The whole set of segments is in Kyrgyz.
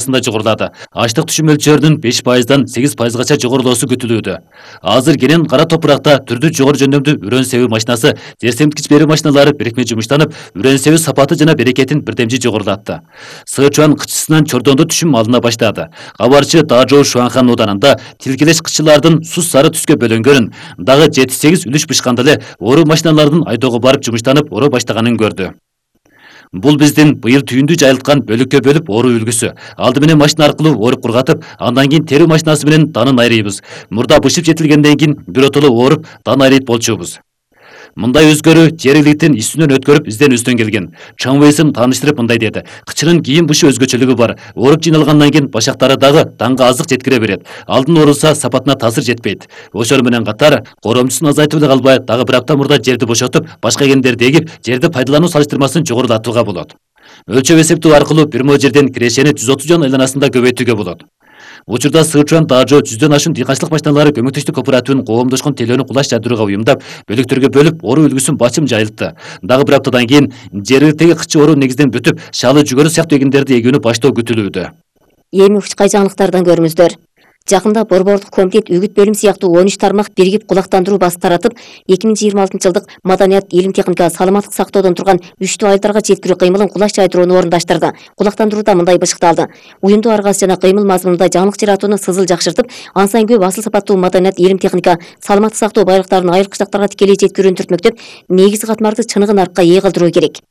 жогорулады. Ачлык түшүм мөлчөрүнүн 5%дан 8%гача жогорулоосу күтүлүүдө. Азыр кенен кара топуракта түрдүү жогору жөндөмдүү үрөн себүү машинасы, жер семткич берүү машиналары бирикме жумуштанып, үрөн себүү сапаты жана берекетин бирдемчи жогорулатты. Сычуан кычысынан Чордондо түшүм алына баштады. Кабарчы Дажоу Шуанхан оданында тилкелеш кычылардын сус сары түскө бөлөнгөнүн, дагы 7-8 үлүш бышканда эле оруу машиналардын айдоого барып жумуштанып, ороо баштаганын көрдү. Бул биздин быйыл түйүндү жайылткан бөлүккө бөлүп оруу үлгүсү. Алды менен машина аркылуу оруп кургатып, андан кийин терүү машинасы менен данын айрыйбыз. Мурда бышып жетилгенден кийин биротоло ооруп, дан айрыйт болчубуз. Мындай өзгөрүү жергиликтин үстүнөн өткөрүп изденүүсүнөн келген. Чоң Вейсим тааныштырып мындай деди. Кычынын кийин бышы өзгөчөлүгү бар. Ооруп жыйналгандан кийин башактары дагы данга азык жеткире берет. Алдын оорулса сапатына таасир жетпейт. Ошол менен катар коромчусун азайтып эле калбай, дагы бир апта мурда жерди бошотуп, башка экендерди эгип, жерди пайдалануу салыштырмасын жогорулатууга болот. Өлчөп эсептөө аркылуу бир мо жерден кирешени 130 жон айланасында көбөйтүүгө болот. Учурда Сычуан Дажо 100дөн ашуун дыйканчылык машиналары көмөктөштүк кооперативинин коомдошкон тейлөөнү кулаш жайдырууга уюмдап, бөлүктөргө бөлүп, оруу үлгүсүн бачым жайылтты. Дагы бир аптадан кийин жергиликтеги кычы оруу негизден бүтүп, шалы жүгөрү сыяктуу эгиндерди эгүүнү баштоо күтүлүүдө. Эми учкай жаңылыктардан көрүңүздөр. Жакында Борбордук комитет үгүт бөлүм сыяктуу 13 тармак биригип кулактандыруу басы таратып, 2026 жылдык маданият, илим техника, саламаттык сактоодон турган үчтүү айылдарга жеткирүү кыймылын кулаш жайдырууну орундаштырды. Кулактандырууда мындай бышыкталды. Уюмду аргасы жана кыймыл мазмунунда жаңылык жаратууну сызыл жакшыртып, ан сайын көп асыл сапаттуу маданият, илим техника, саламаттык сактоо байлыктарын айыл кыштактарга тикелей жеткирүүнү түртмөктөп, негизги катмарды чыныгын аркка ээ кылдыруу керек.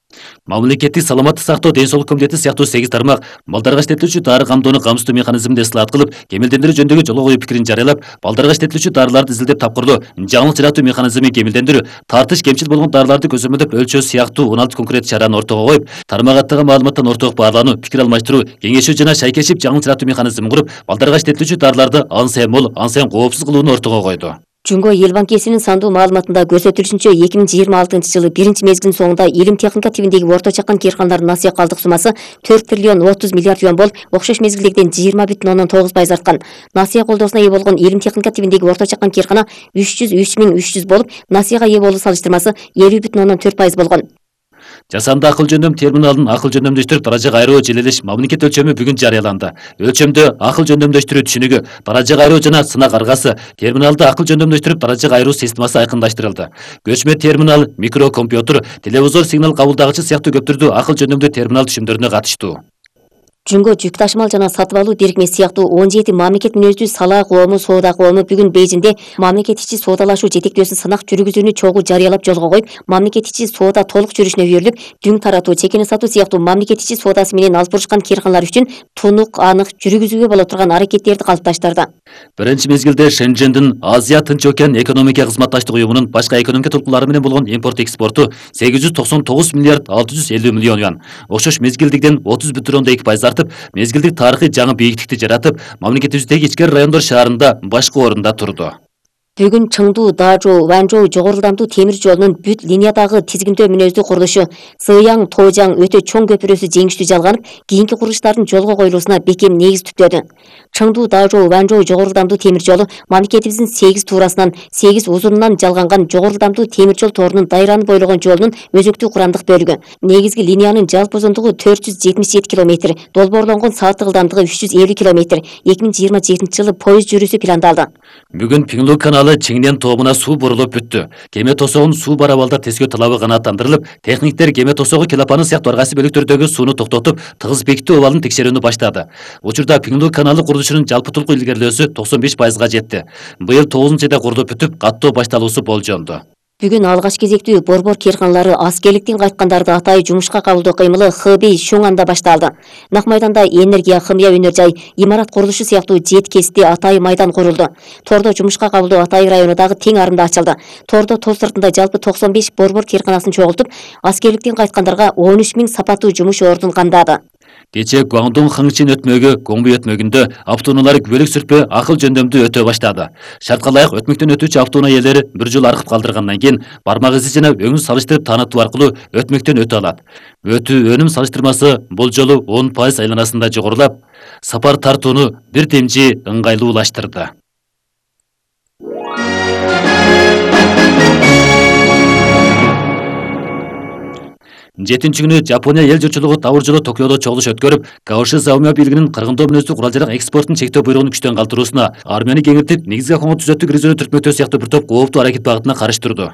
Мамлекеттик саламаттык сактоо ден соолук комитети сыяктуу 8 тармак балдарга иштетилүүчү дары камдоону камсыздоо механизминде ысылат кылып, кемелдендирүү жөнүндөгү жолго коюу пикирин жарыялап, балдарга иштетилүүчү дарыларды изилдеп тапкырлоо, жаңылык жаратуу механизмин кемелдендирүү, тартыш кемчил болгон дарыларды көзөмөлдөп өлчөө сыяктуу 16 конкрет чараны ортого коюп, тармак аттаган маалыматтан орток баарлануу, пикир алмаштыруу, кеңешүү жана шайкешип жаңылык жаратуу механизмин куруп, балдарга иштетилүүчү дарыларды ан сайын мол, ан сайын коопсуз кылууну ортого койду. Жөнгө эл банкесинин сандуу маалыматында көрсөтүлүшүнчө 2026 жылы биринчи мезгилдин соңунда илим техника тибиндеги орто чакан кыйрканалардын насыя калдык суммасы 4 триллион 30 миллиард юан болуп, окшош мезгилдегиден 20,9% арткан. Насыя колдоосуна ээ болгон илим техника тибиндеги орто чакан кыйркана 303 болуп, насыяга ээ болуу салыштырмасы 50,4% болгон. Жасанды акыл жөндөм терминалын акыл жөндөмдөштүрүп даражага айруу желелеш мамлекет өлчөмү бүгүн жарыяланды. Өлчөмдө акыл жөндөмдөштүрүү түшүнүгү, даражага айруу жана сынак аргасы, терминалды акыл жөндөмдөштүрүп даражага айруу системасы айкындаштырылды. Көчмө терминал, микрокомпьютер, телевизор сигнал кабылдагычы сыяктуу көп түрдүү акыл жөндөмдүү терминал түшүмдөрүнө катыштуу. Жөнгө жүк ташымал жана сатып алуу бирикмеси сыяктуу 17 мамлекет мүнөздүү сала коому, соода коому бүгүн Бейжиңде мамлекет ичи соодалашуу жетектөөсүн сынак жүргүзүүнү чогуу жарыялап жолго коюп, мамлекет ичи соода толук жүрүшүнө үйрүлүп, дүң таратуу, чекени сатуу сыяктуу мамлекет ичи соодасы менен алып бурушкан кыйрканалар үчүн тунук, анык жүргүзүүгө боло турган аракеттерди калыпташтырды. Биринчи мезгилде Шенжендин Азия Тынч океан экономика кызматташтык уюмунун башка экономика толкуулары менен болгон импорт-экспорту 899 миллиард 650 миллион юан. Окшош мезгилдигиден 30,2% артып, мезгилдик тарыхый жаңы бийиктикти жаратып, мамлекетибиздеги ичкери райондор шаарында башкы орунда турду. Бүгүн Чыңдуу, Дажоу, Ванчжоу жогору ылдамдуу темир жолунун бүт линиядагы тизгиндөө мүнөздүү курулушу Сыяң Тоожаң өтө чоң көпүрөсү жеңиштүү жалганып, кийинки курулуштардын жолго коюлуусуна бекем негиз түптөдү. Чыңдуу, Дажоу, Ванчжоу жогору ылдамдуу темир жолу мамлекетибиздин 8 туурасынан, 8 узунунан жалганган жогору ылдамдуу темир жол торунун дайраны бойлогон жолунун өзүктүү курамдык бөлүгү. Негизги линиянын жалпы узундугу 477 км, долбоорлонгон сааттык ылдамдыгы 350 км. 2027 жылы поезд жүрүүсү пландалды. Бүгүн Пиңлу каналы Чиңнен тоомуна суу бурулуп бүттү. Кеме тосогун суу барабалда тескөө талабы канааттандырылып, техниктер кеме тосогу келапаны сыяктуу ар кайсы бөлүктөрдөгү сууну токтотуп, тыгыз бекиттүү абалын текшерүүнү баштады. Учурда Пиңлу каналы курулушунун жалпы толук илгерилөөсү 95%га жетти. Быйыл 9-айда курулуп бүтүп, каттоо башталуусу болжонду. Бүгүн алгач кезектүү борбор кыйрканалары аскерликтен кайткандарды атайын жумушка кабылдоо кыймылы Хэбэй Шуңанда башталды. Нак майданда энергия, хымия өнөр жай, имарат курулушу сыяктуу жет кести атайын майдан курулду. Тордо жумушка кабылдоо атайын району дагы тең арында ачылды. Тордо тоо сыртында жалпы 95 борбор кыйрканасын чогултуп, аскерликтен кайткандарга 13 000 сапаттуу жумуш ордун камдады. Кече Гуаңдун Хыңчин өтмөгү Гомбу өтмөгүндө автоунаалар күбөлүк сүрпө акыл жөндөмдүү өтө баштады. Шартка ылайык өтмөктөн өтүүчү автоунаа ээлери бир жыл аркып калдыргандан кийин бармак изи жана өңүн салыштырып таанытуу аркылуу өтмөктөн өтө алат. Өтүү өнүм салыштырмасы бул жолу 10% айланасында жогорулап, сапар тартууну бир темжи ыңгайлуулаштырды. 7 күнү Жапония эл журтчулугу табыр жолу Токиодо чогулуш өткөрүп, Каоши Заумио бийлигинин кыргындоо мүнөздүү курал-жарак экспортун чектөө буйругун күчтөн калтыруусуна, армияны кеңиртип, негизги акымга түзөттүк резервди түртмөктөө сыяктуу бир топ кооптуу аракет багытына каршы турду.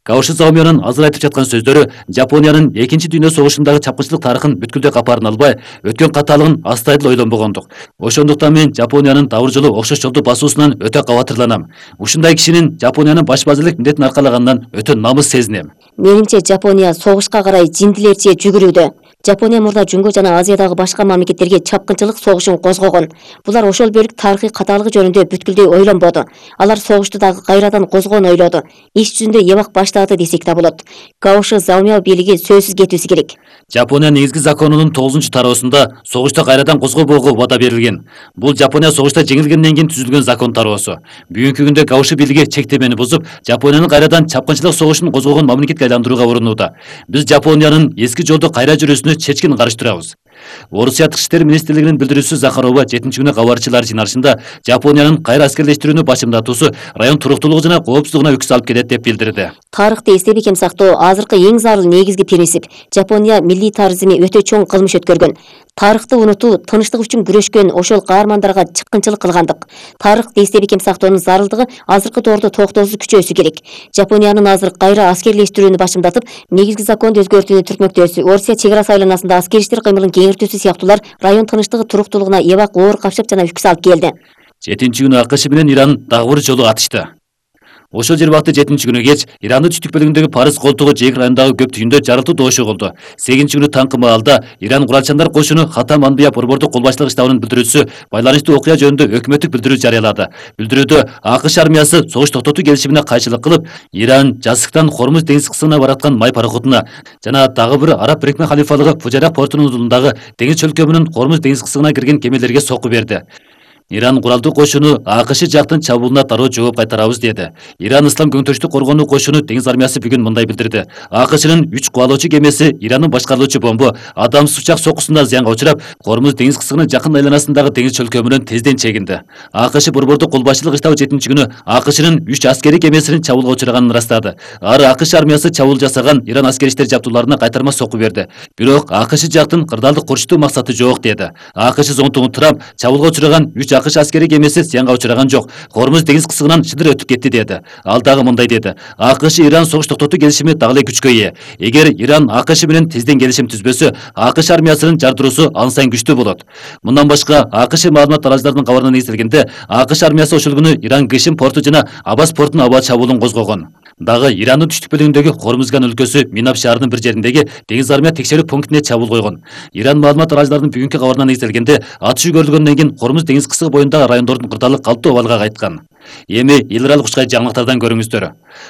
Каоши Заумионун азыр айтып жаткан сөздөрү Жапониянын Экинчи дүйнө согушундагы чапкынчылык тарыхын бүткүлдөй капарын албай, өткөн каталыгын астайыл ойлонбогондук. Ошондуктан мен Жапониянын табыр жолу окшош жолду басуусунан өтө кабатырланам. Ушундай кишинин Жапониянын баш базырлык милдетин аркалаганынан өтө намыс сезинем. Менимче Жапония согушка карай жиндилерче жүгүрүүдө. Жапония мурда Жүнгө жана Азиядагы башка мамлекеттерге чапкынчылык согушун козгогон. Булар ошол бөлүк тарыхый каталыгы жөнүндө бүткүлдөй ойлонбоду. Алар согушту дагы кайрадан козгоону ойлоду. Иш жүзүндө эбак баштаады десек да болот. Каоши Заумио бийлиги сөзсүз кетүүсү керек. Жапония негизги законунун 9-тароосунда согушту кайрадан козгобоого убада берилген. Бул Жапония согушта жеңилгенден кийин түзүлгөн закон тароосу. Бүгүнкү күндө Каоши бийлиги чектемени бузуп, Жапониянын кайрадан чапкынчылык согушун козгогон мамлекетке айландырууга урунууда. Биз Жапониянын эски жолду кайра жүрүүсүнө чечкин каршы турабыз. Орусия Тышкы иштер министрлигинин билдирүүчүсү Захарова 7 күнү кабарчылар жыйналышында Жапониянын кайра аскерлештирүүнү башымдатуусу район туруктуулугу жана коопсуздугуна үкс алып келет деп билдирди. Тарыхты эстеп бекем сактоо азыркы эң зарыл негизги принцип. Жапония милли тарыхызми өтө чоң кылмыш өткөргөн. Тарыхты унутуу, тынчтык үчүн күрөшкөн ошол каармандарга чыккынчылык кылгандык. Тарыхты эстеп бекем сактоонун зарылдыгы азыркы доордо токтоосуз күчөөсү керек. Жапониянын азыр кайра аскерлештирүүнү башымдатып, негизги законду өзгөртүүнү түртмөктөөсү, Орусия чек ара айланасында аскер иштер кыймылын кеңиртүүсү сыяктуулар район тынчтыгы туруктуулугуна эбак оор капшап жана үкс алып келди. 7 күнү АКШ менен Иран дагы бир жолу атышты. Ошол жер бакты 7 күнү кеч Ирандын түштүк бөлүгүндөгү Парыз колтугу жээк районундагы көп түйүндө жарылтуу доошо болду. 8 күнү таңкы маалда Иран куралчандар кошуну Хатам Анбия борбордук колбашчылык штабынын билдирүүчүсү байланыштуу окуя жөнүндө өкмөттүк билдирүү жарыялады. Билдирүүдө АКШ армиясы согуш токтотуу келишимине кайшылык кылып, Иран Жазыктан Хормуз деңиз кысымына бараткан май пароходуна жана дагы бир араб бирикме халифалыгы Фужарак портунун удулундагы деңиз чөлкөмүнүн Хормуз деңиз кысымына кирген кемелерге сокку берди. Иран куралдуу кошуну АКШ жактын чабуулуна дароо жооп кайтарабыз деди. Иран Ислам көңтүрүштүк коргонуу кошуну деңиз армиясы бүгүн мындай билдирди. АКШнын 3 кубалоочу кемеси Ирандын башкарылуучу бомбу адамсыз учак соккусунда зыянга учурап, Хормуз деңиз кысымынын жакын айланасындагы деңиз чөлкөмүнөн тезден чегинди. АКШ борбордук колбашчылык штабы 7 күнү АКШнын 3 аскери кемесинин чабуулга учураганын ырастады. Ары АКШ армиясы чабуул жасаган Иран аскери иштер жабдууларына кайтарма сокку берди. Бирок АКШ жактын кырдаалдык курчутуу максаты жок деди. АКШ зонтугун Трамп чабуулга учураган 3 АКШ аскери кемеси зыянга учураган жок. Хормуз деңиз кысымынан шыдыр өтүп кетти деди. Ал дагы мындай деди. АКШ Иран согуш токтотуу келишими дагы эле күчкө ээ. Эгер Иран АКШ менен тезден келишим түзбөсө, АКШ армиясынын жардыруусу ан сайын күчтүү болот. Мындан башка АКШ маалымат тараачыларынын кабарына негизделгенде, АКШ армиясы ошол күнү Иран Гышим порту жана Абас портунун аба чабуулун козгогон. Дагы Ирандын түштүк бөлүгүндөгү Хормузган өлкөсү Минаб шаарынын бир жериндеги деңиз армия текшерүү пунктине чабуул койгон. Иран маалымат тараачыларынын бүгүнкү кабарына негизделгенде, атышуу көрүлгөндөн кийин Хормуз деңиз кысыгы боюндагы райондордун кырдаалы калптуу абалга кайткан. Эми эл аралык ушкай жаңылыктардан көрүңүздөр.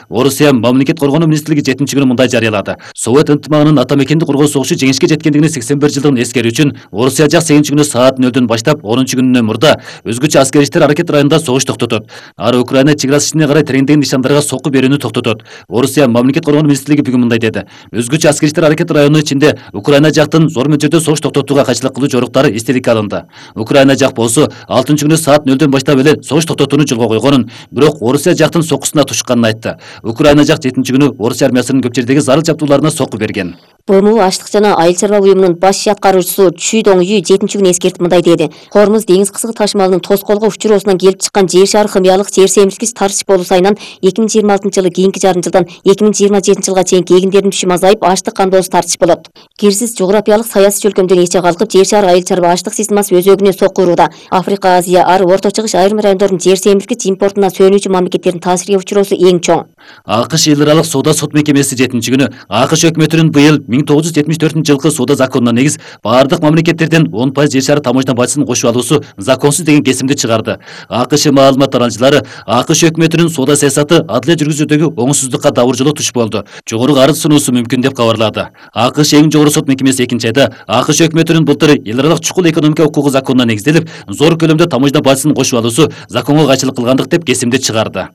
Орусия мамлекет коргонуу министрлиги 7 күнү мындай жарыялады. Совет ынтымагынын ата мекенди коргоо согушу жеңишке жеткендигине 81 жылдыгын эскерүү үчүн Орусия жак 8 күнү саат 0-дөн баштап 10 күнүнөн мурда өзгөчө аскер иштер аракет районунда согуш токтотот. Ары Украина чек арасы ичине карай тереңдеген нишандарга сокку берүүнү токтотот. Орусия мамлекет коргонуу министрлиги бүгүн мындай деди. Өзгөчө аскер иштер аракет району ичинде Украина жактын зор мөлчөрдө согуш токтотууга кайшылык кылуу жоруктары эстеликке алынды. Украина жак болсо 6 күнү саат 0-дөн баштап эле согуш токтотууну жолго койгонун, бирок Орусия жактын соккусуна тушканын айтты. Украина жак 7 күнү Орусия армиясынын көп жердеги зарыл жабдууларына сокку берген. БМУ Аштык жана айыл чарба буюмунун баш иш аткаруучусу Чүй Доңью 7 күнү эскертип мындай деди. Хормуз деңиз кысыгы ташымалынын тоскоолго учуроосунан келип чыккан жер шары хымыялык жер семирткич тарчыш болуу сайынан 2026 жылы кийинки жарым жылдан 2027 жылга чейинки эгиндердин түшүмү азайып, аштык кандоосу тартыш болот. Кирсиз жографиялык саясий чөлкөмдөн эче калкып, жер шары айыл чарба аштык системасы өзөгүнө сокку урууда. Африка, Азия, ары Орто Чыгыш айрым райондордун жер семирткич импортуна сөөнүүчү мамлекеттердин таасирге учуроосу эң чоң. АКШ эл аралык соода сот мекемеси 7 күнү АКШ өкмөтүнүн быйыл 1974 жылкы соода законуна негиз баардык мамлекеттерден 10% жер шары таможня бажысын кошуп алуусу законсуз деген кесимди чыгарды. АКШ маалымат тараачылары АКШ өкмөтүнүн соода саясаты адилет жүргүзүүдөгү оңусуздукка дабыр жолу туш болду. Жогору арыз сунуусу мүмкүн деп кабарлады. АКШ эң жогору сот мекемеси 2 айда АКШ өкмөтүнүн былтыр эл аралык чукул экономика укугу законуна негизделип, зор көлөмдө таможня бажысын кошуп алуусу законго кайшылык кылгандык деп кесимди чыгарды.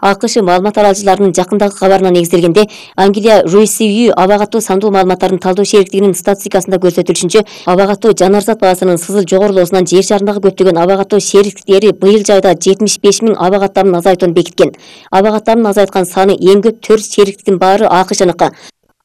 АКШ маалымат тараачыларынын жакындагы кабарына негизделгенде, Англия RCU аба каттуу сандуу маалыматтарын талдоо шериктигинин статистикасында көрсөтүлүшүнчө, аба каттуу жанар зат баасынын сызыл жогорулоосунан жер шарындагы көптөгөн аба каттуу шериктиктери быйыл жайда 75 000 аба каттамын азайтууну бекиткен. Аба каттамын азайткан саны эң көп 4 шериктиктин баары АКШныкы.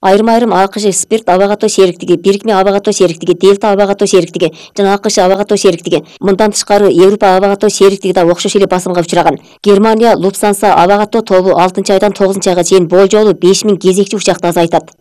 Айрым АКШ спирт аба катуу шериктиги, Бирикме аба катуу шериктиги, Дельта аба катуу шериктиги жана АКШ аба катуу шериктиги, мындан тышкары Европа аба катуу шериктиги да окшош эле басымга учураган. Германия Lufthansa аба катуу тобу 6-айдан 9-айга чейин болжолу 5000 кезекчи учакты азайтат.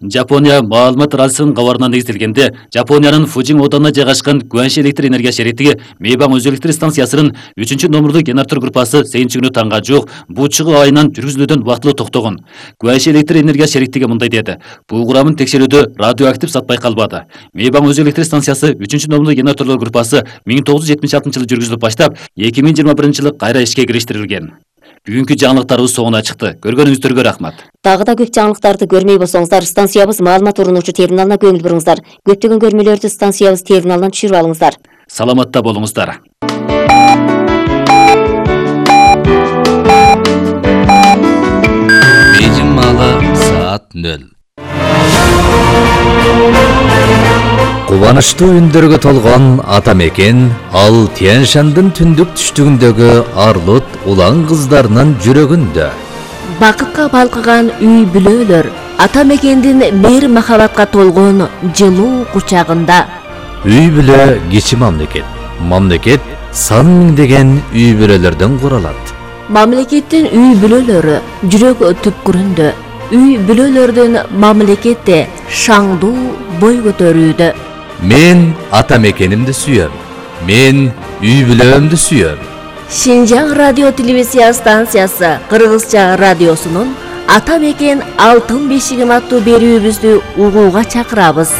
Жапония маалымат радиосунун кабарына негизделгенде, Жапониянын Фужин оодунда жайгашкан Гуанши электр энергия шериктиги Мейбаң өзү электр станциясынын 3-номурлуу генератор группасы сегизинчи күнү таңга жуук буу чыгуу айынан жүргүзүлүүдөн убактылуу токтогон. Гуанши электр энергия шериктиги мындай деди: бул курамын текшерүүдө радиоактив зат байкалбады. Мейбаң өзү электр станциясы 3-номурлуу генераторлор группасы 1976-жылы жүргүзүлүп баштап, 2021-жылы кайра ишке кириштирилген. Бүгүнкү жаңылыктарыбыз соңуна чыкты. Көргөнүңүздөргө рахмат. Дагы да көп жаңылыктарды көрмөй болсоңуздар, станциябыз маалымат урунуучу терминалына көңүл буруңуздар. Көптөгөн көрмөлөрдү станциябыз терминалынан түшүрүп алыңыздар. Саламатта болуңуздар. Бейжің малы саат 0. Кубанычтуу үндөргө толгон ата мекен ал Тянь-Шандын түндүк түштүгүндөгү арлут улан кыздарынын жүрөгүндө. Бакытка балкыган үй бүлөлөр ата мекендин мейир махабатка толгон жылуу кучагында. Үй бүлө кичи мамлекет. Мамлекет сан миңдеген үй бүлөлөрдөн куралат. Мамлекеттин үй бүлөлөрү жүрөк түпкүрүндө. Үй бүлөлөрдүн мамлекетте шаңдуу бой көтөрүүдө. Мен ата мекенимди сүйөм. Мен үй бүлөмдү сүйөм. Шинжаң радио телевизия станциясы Кыргызча радиосунун Ата мекен алтын бешигим аттуу берүүбүздү угууга чакырабыз.